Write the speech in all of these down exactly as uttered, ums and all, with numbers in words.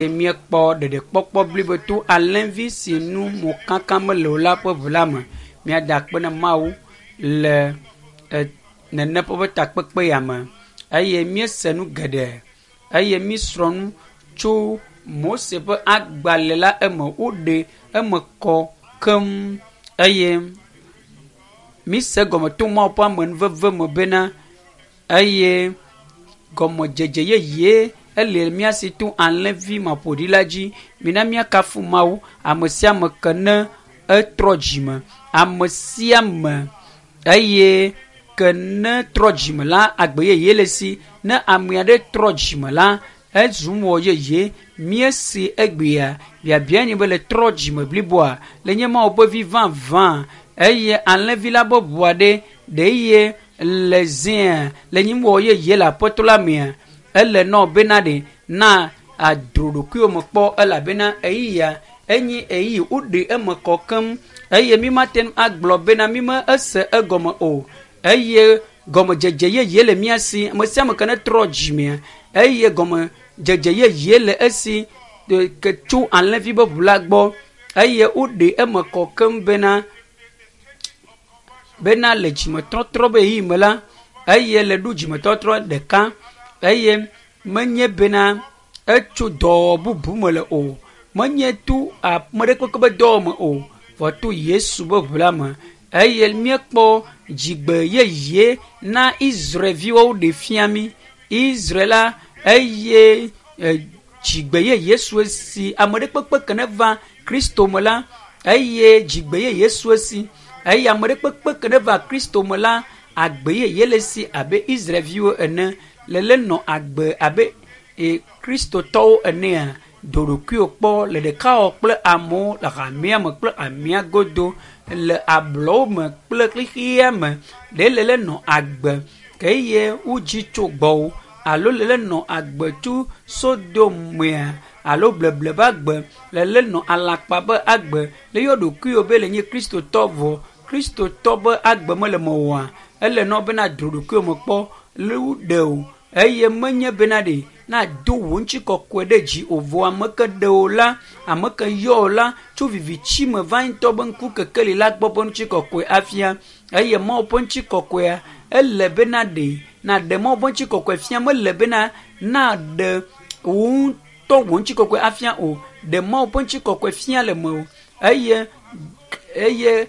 Míekpɔ ɖeɖekpɔkpɔ blibo to alẽvi si nu mokaka mele o la ƒe ʋu la me. Míada akpe na Mawu le e nene ƒe takpekpe ya me eye míese nu geɖe eye míesrɔ̃ nu tso Mose ƒe agbalẽ la eme. Woɖe eme kɔ keŋ eye míse egɔme to Mawu ƒe amenuveve me bena eye gɔmedzedze yeye ele mía si to alẽvi maƒoɖi la dzi. Mina míakafu Mawu ame sia ame ke ne etrɔ dzime. Ame sia ame eye ke ne trɔ dzime la agbe yeye le si. Ne ame aɖe trɔ dzime la ezu nuwɔ yeye. Míesi egbea biabia nye be le trɔ dzime bliboa le nye Mawu ƒe vi vavã eye alẽvi la ƒe ʋua ɖe ɖe ye le zia le nye nuwɔ yeye le aƒetɔ la mea ele nɔ bena ɖe na adro ɖokuiwo me kpɔ elabena ɣeyiɣia enye ɣeyiɣi woɖe eme kɔ keŋ eye mi mate ŋu agblɔ bena mi me ese egɔme o eye gɔmedzedze yeye le mía si ame sia ame ke ne trɔ dzimea eye gɔmedzedze yeye le esi ke tso alẽvi be ʋu la gbɔ eye woɖe eme kɔ keŋ bena bena le dzimetɔtrɔ be ɣeyiɣi me la eye le ɖo dzimetɔtrɔ ɖeka eye menye bena etso dɔwɔwɔ bubu me le o menye to ame ɖe kpekpe be dɔwɔwɔ me o vɔ to Yesu be ʋu la me eye míekpɔ dzigbe yeye na Israelviwo ɖe fia mí Israel la eye dzigbe yeye su esi ame ɖe kpekpe ke ne va Kristo me la eye dzigbe yeye su esi eye ame ɖe kpekpe ke ne va Kristo me la agbe yeye le esi abe Israelviwo ene le le nɔ agbe abe e Kristotɔwo enea do ɖokuiwò kpɔ le ɖekawɔwɔ kple amewo le hamea me kple hamea godo le ablɔwo me kple xexea me ɖe le le nɔ agbe ke eye wodzi tso gbɔwò alo le le nɔ agbe tso Sodomea alo bleble be agbe le le nɔ alakpa be agbe le yɔ ɖokuiwò be le nye Kristotɔ vɔ Kristotɔ be agbe mele mewòa ele nɔ bena dro ɖokuiwò me kpɔ le woɖe o eye menye bena ɖe na do wò ŋutikɔkɔe ɖe dzi o vɔ ame ke ɖe wò la ame ke yɔ wò la tso viviti me va ŋutɔ be ŋku kekeli la gbɔ ƒe ŋutikɔkɔe afia eye Mawu ƒe ŋutikɔkɔea ele bena ɖe naɖe Mawu ƒe ŋutikɔkɔe fia mele bena naɖe wò ŋutɔ wò ŋutikɔkɔe afia o ɖe Mawu ƒe ŋutikɔkɔe fia le mewò eye eye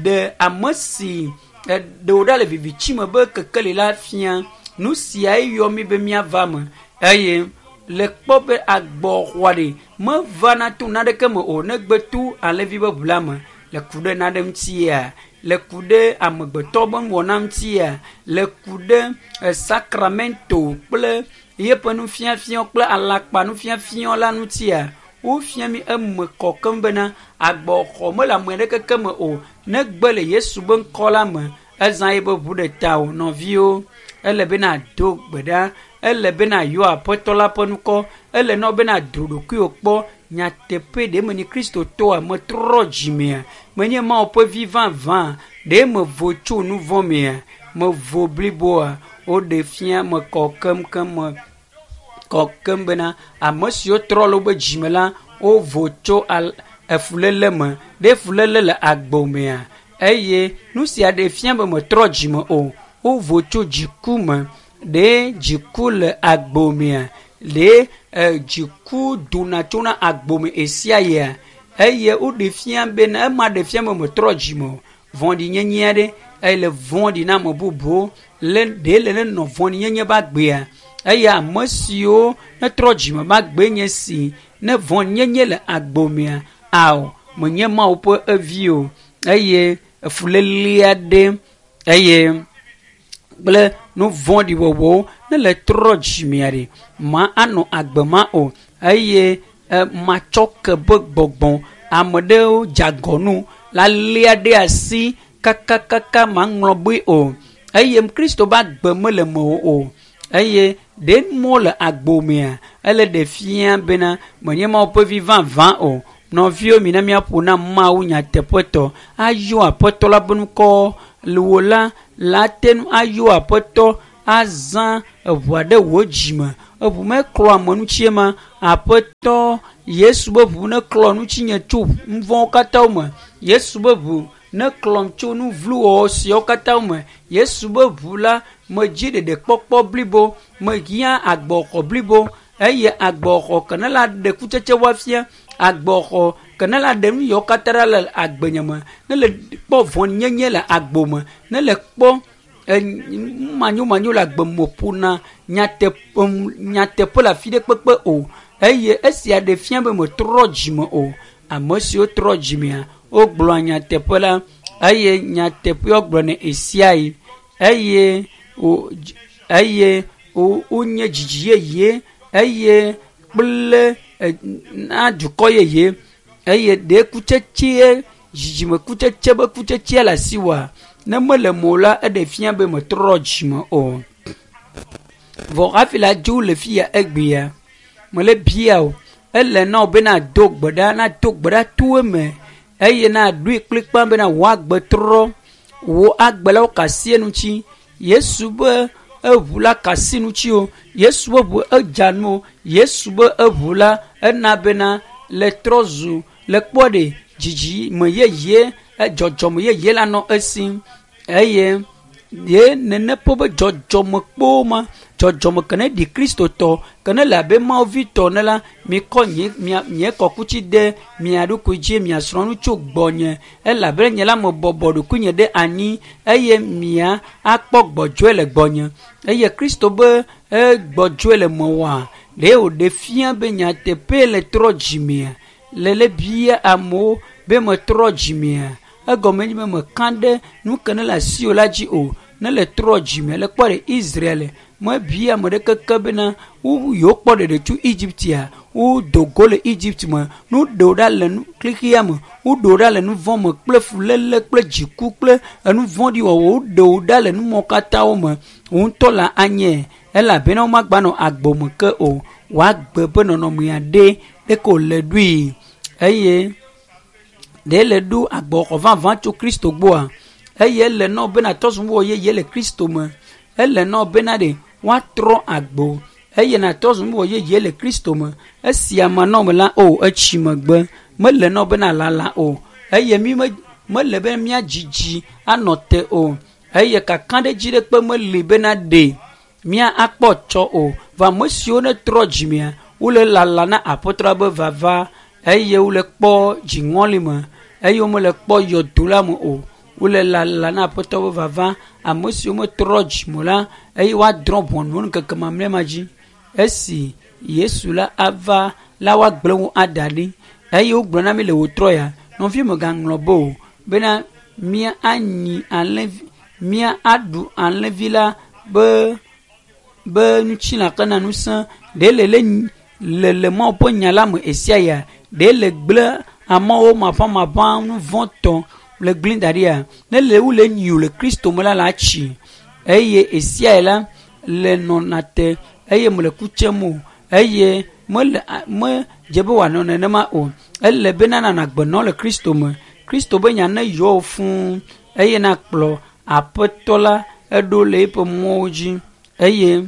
ɖe ame si ɖe wò ɖa le viviti me be kekeli la fia nu siae yɔ mí be míava me eye le kpɔ be agbɔxɔa ɖe mevana to naneke me o negbe to alẽvi be ʋu la me le ku ɖe nane ŋutia le ku ɖe amegbetɔ be nuwɔna ŋutia le ku ɖe sakramento kple yeƒe nufiafia kple alakpa nufiafia la ŋutia wofia mí eme kɔ keŋ bena agbɔxɔ mele ame aɖeke me o negbe le Yesu be ŋkɔ la me ezã ye be ʋu ɖe ta o nɔviwo ele bena do gbe ɖa ele bena yɔ aƒetɔ la ƒe ŋkɔ ele nɔ bena dro ɖokuiwò kpɔ nyateƒe ɖe me nye Kristotɔa metrɔ dzimea menye Mawu ƒe vi vavã ɖe mevo tso nu vɔ̃ mea mevo bliboa woɖe fia me kɔ keŋkeŋ me kɔ keŋ bena ame siwo trɔ le wobe dzime la wovo tso al efuléle me ɖe fuléle le agbo mea eye nu sia ɖe fia be metrɔ dzime o wovo tso dziku me ɖe dziku le agbo mea ɖe dziku dona tsona agbo me ɣe sia eye woɖe fia bena ema ɖe fia be metrɔ dzime o vɔ̃ɖinyenye aɖe eye le vɔ̃ɖi na ame bubuwo le ɖe le ne nɔ vɔ̃ɖinyenye be agbea eye ame siwo netrɔ dzime be agbe nye si ne vɔ̃ɖinyenye le agbo mea ao menye Mawu ƒe evi o eye efuléle aɖe eye kple nu vɔ̃ɖi wɔwɔwo ne le trɔ dzimea ɖe ma anɔ agbe ma o eye matsɔ ke be gbɔgbɔ ame ɖewo dze agɔ nu la lia ɖe asi kakakaka maŋlɔ be o eye Kristo be agbe mele mewò o eye ɖe mɔ le agbo mea ele ɖe fia bena menye Mawu ƒe vi vavã o nɔviwo mina míaƒo na Mawu nyateƒetɔ ayɔ aƒetɔ la ƒe ŋkɔ le wò la la te ŋu ayɔ aƒetɔ azã eʋua ɖe wò dzime. Eʋu meklɔ ame ŋutie ma. Aƒetɔ Yesu be ʋu neklɔ ŋutinye tso nu vɔ̃wo katã me. Yesu be ʋu neklɔm tso nu vlo wɔwɔ siawo katã me. Yesu be ʋu la medzi ɖeɖekpɔkpɔ blibo, mehiã agbɔxɔ blibo eye agbɔxɔ ke ne la ɖe kutsetse woafia, agbɔxɔ ke ne la ɖe nu yawo katã ɖa le agbenye me, ne le kpɔ vɔ̃nyenye le agbo me, ne le kpɔ manyomanyo le agbe me ƒona nyateƒe nyateƒe le afi ɖe kpekpe o eye esia ɖe fia be metrɔ dzime o. Ame siwo trɔ dzimea, wogblɔa nyateƒe la eye nyateƒe wogblɔnɛ ɣe eye wo eye wonye dzidzi yeye eye kple na dukɔ yeye eye ɖe kutsetse dzidzime kutsetse be kutsetsea le asiwòa ne mele mo la eɖe fia be metrɔ dzime o. Vɔ hafi la dzo le fia egbea mele bia o ele na wo be nado gbe ɖa nado gbe ɖa to eme eye naɖoe kplikpa bena wò agbe trɔ wò agbe la wo ka asi eŋuti. Yesu be eʋu la ka asi ŋuti o. Yesu be ʋu edza nu o. Yesu be eʋu la ena bena le trɔ zu le kpɔ ɖe dzidzime yeye dzɔdzɔme yeye la nɔ esi eye ye nene ƒe be dzɔdzɔme kpo ma dzɔdzɔme ke ne ɖi kristotɔ ke ne le abe Mawu vi tɔ ne la mikɔ nye mia nye kɔkuti de mia ɖokui dzi miasrɔ̃ nu tso gbɔnye elabena nye la mebɔbɔ ɖokuinye ɖe anyi eye mia akpɔ gbɔdzɔe le gbɔnye eye Kristo be egbɔdzɔe le mewɔa ɖe wòɖe fia be nyateƒe le trɔ dzimea le le bia amewo be metrɔ dzimea egɔme nye be meka ɖe nu ke ne le asiwò la dzi o ne le trɔ dzime le kpɔ ɖe Israel mebia ame ɖeke ke bena wo yewo kpɔ ɖeɖe tso Egyptia wodo go le Egypt me nu ɖewo ɖa le nu xexea me woɖewo ɖa le nu vɔ̃ me kple fuléle kple dziku kple enu vɔ̃ɖi wɔwɔ woɖewo ɖa le numɔwo katã wo me wo ŋutɔ la anye elabena womagbanɔ agbo me ke o woagbe ƒe nɔnɔmea ɖe ɖeke wòle ɖoe eye ɖe le ɖo agbɔxɔ vavã tso Kristo gbɔa eye ele na wo bena trɔ zu nuwɔ yeye le Kristo me ele na wo bena ɖe woatrɔ agbo eye nàtrɔ zu nuwɔ yeye le Kristo me esia manɔ me la o etsi megbe mele na wo bena lala o eye mi me mele be míadzidzi anɔ te o eye kakaɖedzi ɖe kpe meli bena ɖe mía akpɔ tsɔ o vɔ ame siwo ne trɔ dzimea wole lala na aƒetɔ be vava eye wole kpɔ dziŋɔli me eye womele kpɔ yɔdo la me o wole lala na aƒetɔ be vava ame siwo metrɔ dzime la eye woadrɔ̃ ʋɔnu wo ŋkeke mamlɛ ma dzi esi Yesu la ava la woagblẽ wo ada ɖi eye wogblɔ na mi le wòtrɔ ya nɔvi megaŋlɔ be o bena mía anyi alẽvi mía aɖu alẽvi la be be ŋutilã kena ŋusẽ ɖe le le le le Mawu ƒe nya la me esia ya ɖe le gblẽ amewo maʋamaʋã nu vɔ̃tɔ le gblẽ da ɖia ne le wo le nyi le Kristo me la la tsi eye esia la le nɔna te eye mele ku tsem o eye mele me dze be wòanɔ nenema o ele bena nanɔ agbe nɔ le Kristo me Kristo be nya ne yɔ wò fũu eye nakplɔ aƒetɔ la eɖo le eƒe mɔwo dzi eye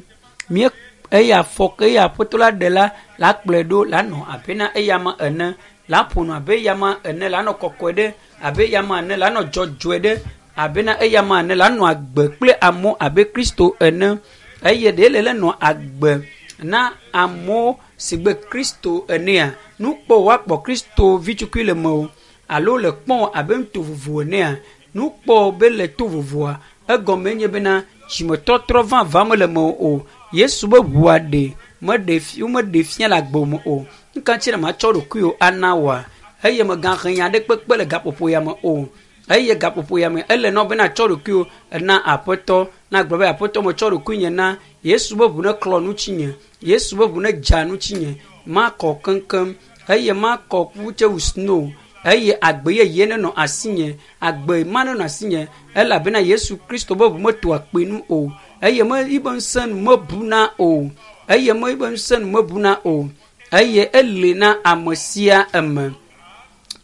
mía eye afɔ ke eye aƒetɔ la ɖe la la kplɔe ɖo la nɔ abe na eyama ene la ƒo nu abe eyama ene la nɔ kɔkɔe ɖe abe eyama ene la nɔ dzɔdzɔe ɖe abe na eyama ene la nɔ agbe kple amewo abe Kristo ene eye ɖe le le nɔ agbe na amewo si gbe Kristo enea nukpɔ woakpɔ Kristo vitukui le me o alo le kpɔm abe ŋuto vovo enea nukpɔ be le to vovoa egɔme nye bena dzimetɔtrɔ vavã mele me o Yesu be ʋua ɖe meɖe fi womeɖe fia le agbo me o nuka ŋuti na matsɔ ɖokuiwò ana woa eye megahe nya ɖe kpekpe le gaƒoƒo ya me o eye gaƒoƒo ya me ele na wo bena tsɔ ɖokuiwò na aƒetɔ na gblɔ be aƒetɔ metsɔ ɖokuinye na Yesu be ʋu ne klɔ ŋutinye Yesu be ʋu ne dza ŋutinye makɔ keŋkeŋ eye makɔ kutse wu snow eye agbe yeye nenɔ asinye agbe ma nenɔ asinye elabena Yesu Kristo be ʋu metoa kpi nu o eye me yibe ŋusẽ nu mebuna o eye me yibe ŋusẽ nu mebuna o eye eli na ame sia ame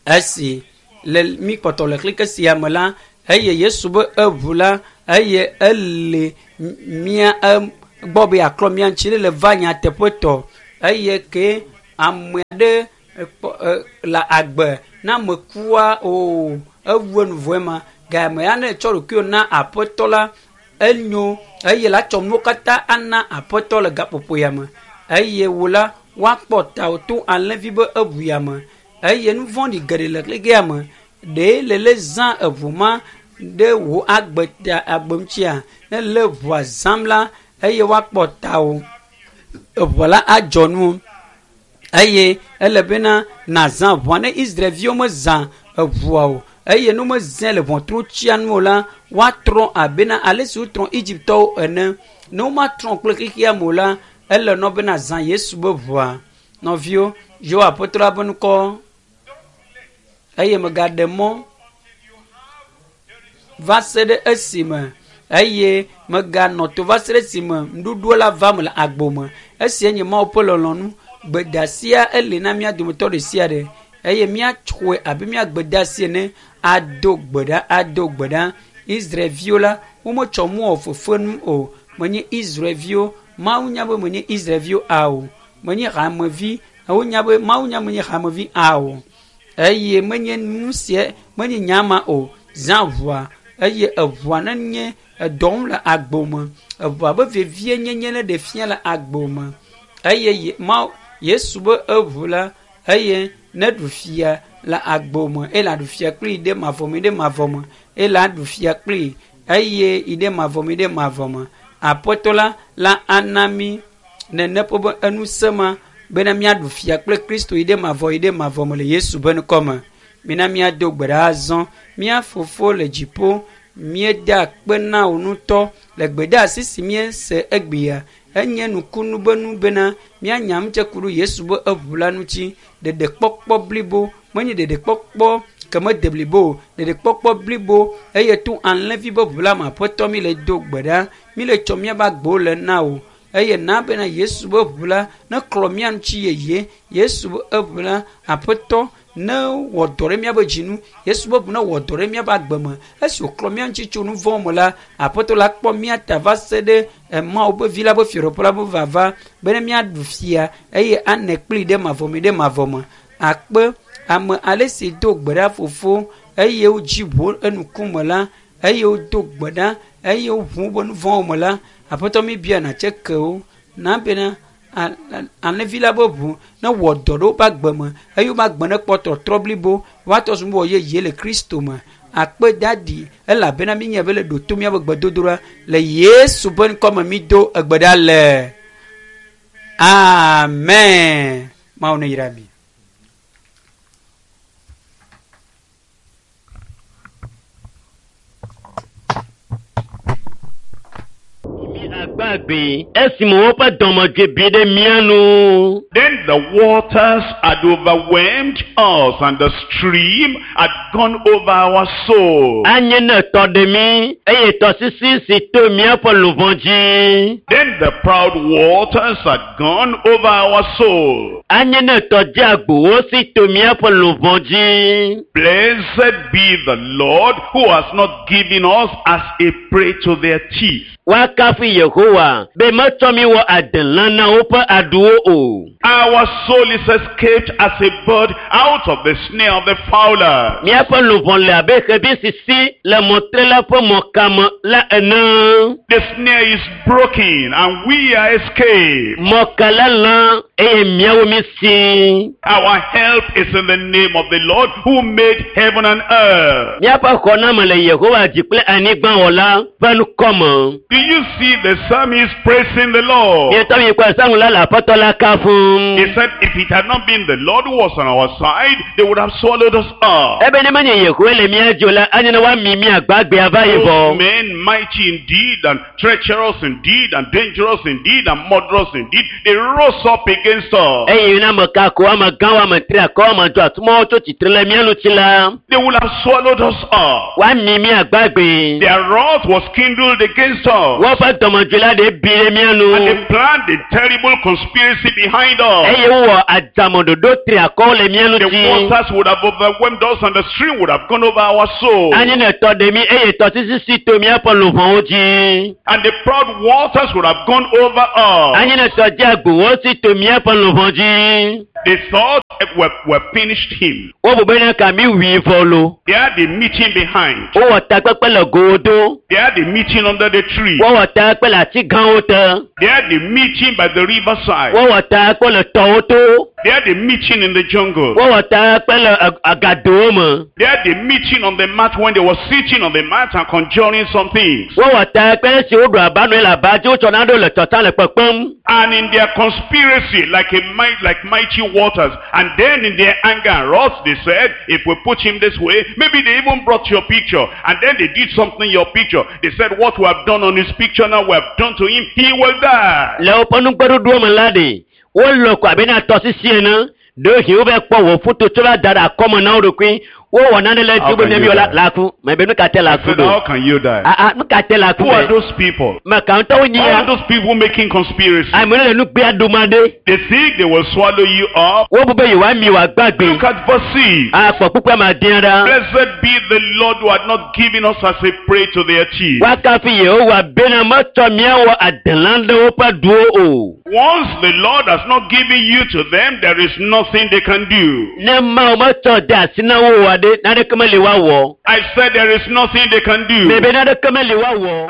esi le mi kpɔtɔ le xlike sia me la eye Yesu be eʋu la eye ele mía gbɔ be yeaklɔ mía ŋuti ne le va nyateƒetɔ eye ke ame aɖe le agbe na mekua o ewu enu vɔe ma game ya ne tsɔ ɖokuiwò na aƒetɔ la enyo eye la tsɔ nuwo katã ana aƒetɔ le gaƒoƒo ya me eye wò la woakpɔ tawò to alẽvi be eʋu ya me eye nu vɔ̃ɖi geɖe le xexea me ɖe le le zã eʋu ma ɖe wò agbe ta agbe ŋutia ne le ʋua zãm la eye woakpɔ tawò eʋua la adzɔ nu eye ele bena nazã ʋua ne Israelviwo mezã eʋua o eye ne womezãe le ʋɔtru tsia nu o la woatrɔ abena ale si wotrɔ Egyptɔwo ene ne womatrɔ kple xexea me o la ele nɔ bena zã Yesu be ʋua nɔviwo yewo aƒetɔ la be ŋkɔ eye megaɖe mɔ va se ɖe esime eye meganɔ to va se ɖe esime nuɖuɖu la va me le agbo me esia nye Mawu ƒe lɔlɔ̃nu gbedeasia ele na mía dometɔ ɖe sia ɖe eye míatsɔe abe mía gbedeasi ene ado gbe ɖa ado gbe ɖa Israelviwo la wometsɔ mu wɔ fefenu o menye Israelviwo Mawu nya be menye Israelviwo ao menye hamevi wonya be Mawu nya menye hamevi ao eye menye nu sia menye nyama o zã ʋua eye eʋua nenye edɔm le agbo me eʋua be vevie nyenye ne ɖe fia le agbo me eye Mawu Yesu be eʋu la eye ne ɖu fia le agbo me eye la ɖu fia kpli ɖe mavɔ me ɖe mavɔ me eye la ɖu fia kpli eye yi ɖe mavɔ me ɖe mavɔ me aƒetɔ la la ana mí nene ƒe be enusẽ ma bena míaɖu fia kple Kristo yi ɖe mavɔ yi ɖe mavɔ me le Yesu be ŋkɔ me mina míado gbe ɖa azɔ mía fofo le dziƒo míeda akpe na wò ŋutɔ le gbedeasi si míese egbea enye nukunu be nu bena míanya ŋutse ku ɖe Yesu be eʋu la ŋuti ɖeɖekpɔkpɔ blibo menye ɖeɖekpɔkpɔ ke mede blibo o ɖeɖekpɔkpɔ blibo eye to alẽvi be ʋu la me aƒetɔ mi le do gbe ɖa mi le tsɔ míaƒe agbewo le na wò eye na bena Yesu be ʋu la ne klɔ mía ŋuti yeye Yesu be eʋu la aƒetɔ ne wɔ dɔ ɖe míaƒe dzinu Yesu be ʋu ne wɔ dɔ ɖe míaƒe agbe me esi wòklɔ mía ŋuti tso nu vɔ̃ me la aƒetɔ la kpɔ mía ta va se ɖe Mawu be vi la be fiaɖuƒe la be vava bene míaɖu fia eye ane kpli ɖe mavɔ me ɖe mavɔ me akpe ame ale si do gbe ɖa fofo eye wodzi ʋu enukume la eye wodo gbe ɖa eye woʋu woƒe nu vɔ̃wo me la aƒetɔ mi bia natse kewo na bena alẽvi la be ʋu ne wɔ dɔ ɖe woƒe agbe me eye woƒe agbe ne kpɔ tɔtrɔ blibo woatɔ zu wɔ yeye le Kristo me akpe dadi elabena mi nye be le ɖo to míaƒe gbedodoɖa le Yesu ƒe ŋkɔ me mi do egbe ɖa le amen Mawu ne yra mi. Agbagbe esime woƒe dɔmedzoe bi ɖe mía nu. Then the waters had overwhelmed us, and the stream had gone over our soul. Anye ne tɔ ɖe mí eye tɔsisi si to míaƒe luʋɔ dzi. Then the proud waters had gone over our soul. Anye ne tɔ dzeagbowo si to míaƒe luʋɔ dzi. Blessed be the Lord who has not given us as a prey to their teeth. Woakafu Yehowa be metsɔ mí wɔ adelã na woƒe aɖuwo o. Our soul is escaped as a bird out of the snare of the fowler. Míaƒe luʋɔ le abe xevi sisi le mɔtrela ƒe mɔkame la ene. The snare is broken and we are escaped. Mɔka la lã eye míawo mí si. Our help is in the name of the Lord who made heaven and earth. Míaƒe xɔname le Yehowa dzi kple anyigba wɔla ƒe ŋkɔ me. Do you see the psalmist praising the Lord? Mietɔ mi kpɔ psalm la le aƒetɔ la kafum. He said, if it had not been the Lord who was on our side, they would have swallowed us up. Ebe ne menye Yehowa le mía dzi o la, anye ne woami mí agbagbe ava yi Those vɔ. men mighty indeed and treacherous indeed and dangerous indeed and murderous indeed, they rose up against us, Eye na ame kako, ame gãwo, ame triakɔwo, ame dzɔatsumawo tso tsitre le mía ŋuti la, they would have swallowed us up. woami mí agbagbe. Their wrath was kindled against us. Woƒe dɔmedzoe la ɖe bi ɖe mía nu. And they planned a terrible conspiracy behind us. Eye wowɔ adzame ɖoɖo triakɔwo le mía The ŋuti. waters would have overwhelmed us and the stream would have gone over our soul. Anyi ne tɔ ɖe mí eye tɔsisi si to míaƒe luʋɔwo dzi. And the proud waters would have gone over us. Anyi ne tɔ dze agbowo si to míaƒe luʋɔ dzi. They thought we, we finished him. Wobu bena ka mí wui vɔ lo. They had a meeting behind. Wowɔ takpekpe le gowo do. They had a meeting under the tree. Wowɔ takpekpe le ati gãwo te. They had a meeting by the riverside. Wowɔ takpekpe le tɔwo to. They had a meeting in the jungle. Wowɔ takpekpe le ag- agadowo me. They had a meeting on the mat when they were sitting on the mat and conjuring some things. Wowɔ takpekpe esi woɖu aba nɔe le aba dzi wotsɔ naɖewo le tɔta le kpekpem. And in their conspiracy, like a might, like mighty waters, and then in their anger and wrath, they said, if we put him this way, maybe they even brought your picture, and then they did something in your picture. They said, what we have done on his picture now, we have done to him, he will die. Le woƒe nugbeɖoɖowo me la ɖe, wolɔ ko abe na tɔsisi ene. Ɖewohĩ wova kpɔ wò foto tsɔ va da ɖe akɔme na wo ɖokui. Wowɔ nane le How dzi be can miami you wɔ la die? la ku. Mɛ be nu ka te la I ku said, how ɖo? can you die? Ah ah, nu ka te la ku Who are mɛ? those people? Mɛ ka ŋutɔwo nyi All ya. those people making conspiracy. Ame ɖe le nugbea ɖum aɖe. They think they will swallow you up. Wobu be yewoami wòagbagbe. Look at verse six. Akpɔ kpukpua ma dẽ ɖa. Blessed be the Lord who had not given us as a prey to their teeth. Woakafu Yehowa bena metsɔ míawɔ adelã ɖe woƒe ɖuwo o. Once the Lord has not given you to them, there is nothing they can do. Ne Mawu metsɔ de asi na wo oa ɖe, naneke meli woawɔ. I said there is nothing they can do. Mebe naneke meli woawɔ.